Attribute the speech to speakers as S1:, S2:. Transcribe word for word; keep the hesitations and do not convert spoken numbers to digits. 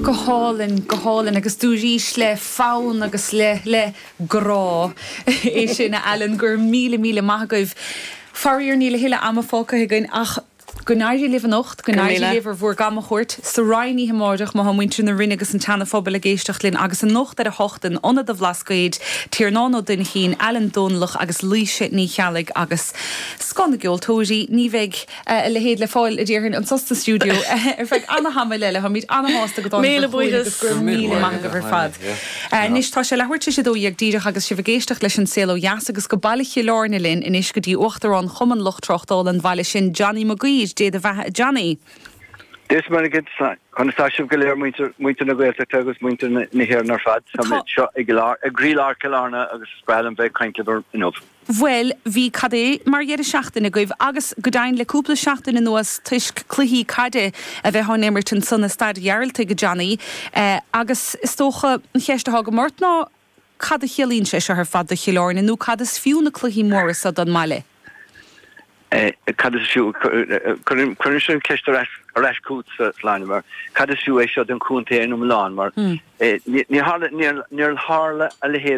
S1: Go hálainn, go hálainn agus dúirt le fonn agus le le grá é sin a Alan gur míle míle maith agaibh. Faraor níl a thuilleadh ama fágtha againn ach go n-éirí libh anocht, go n-éirí libh ar bhur gcamchuairt sa Rinn amárach má muintir na Rinne agus an tSeana-Phobail ag éisteacht linn agus anocht ar a hocht in Ionad an Bhlascaoid, Tiarnán Ó Duinchín, Alan Dónallach agus Laoise Ní Cheallaigh agus scoth na gceoltóirí ní bheidh a leithéid le fáil a déarfainn anseo sa stiúideo ar feadh an-tamall eile táimid an-shásta go
S2: Míle buíochas.
S1: míle maith agaibh ar fad. Anois tá sé leathuair tar éis a dó dhéag díreach agus sibh ag éisteacht leis an Saol Ó Dheas agus go Baile Chill Airne linn anois go dtí Uachtarán Chumann Lucht Tráchtála an bhaile sin Johnny Maguire Dé do bheatha Johnny.
S3: Des mar chun tá sibh go léir muintir na Gaeltachta agus muintir na hÉireann ar fad seo ag ag croílár Chill Airne agus sprálam bheith caint inniu.
S1: Bhuel bhí cad é mar dheireadh seachtaine agaibh agus go deimhin le cúpla seachtain anuas toisc cluichí caide a bheith á n-imirt ansan i Staid Ghearaltaigh Johnny eh, agus is dócha an cheist atá agam ort ná cad a chiallaíonn sé seo ar fad do Chill Airne nó cad is fiú na cluichí móra seo don mbaile.
S3: Eh, cad is fiú chuir sin ceist ar ais chugat Sláine mar cad is fiú é seo don chontae iomlán mar hmm. eh, níor tharla a leithéid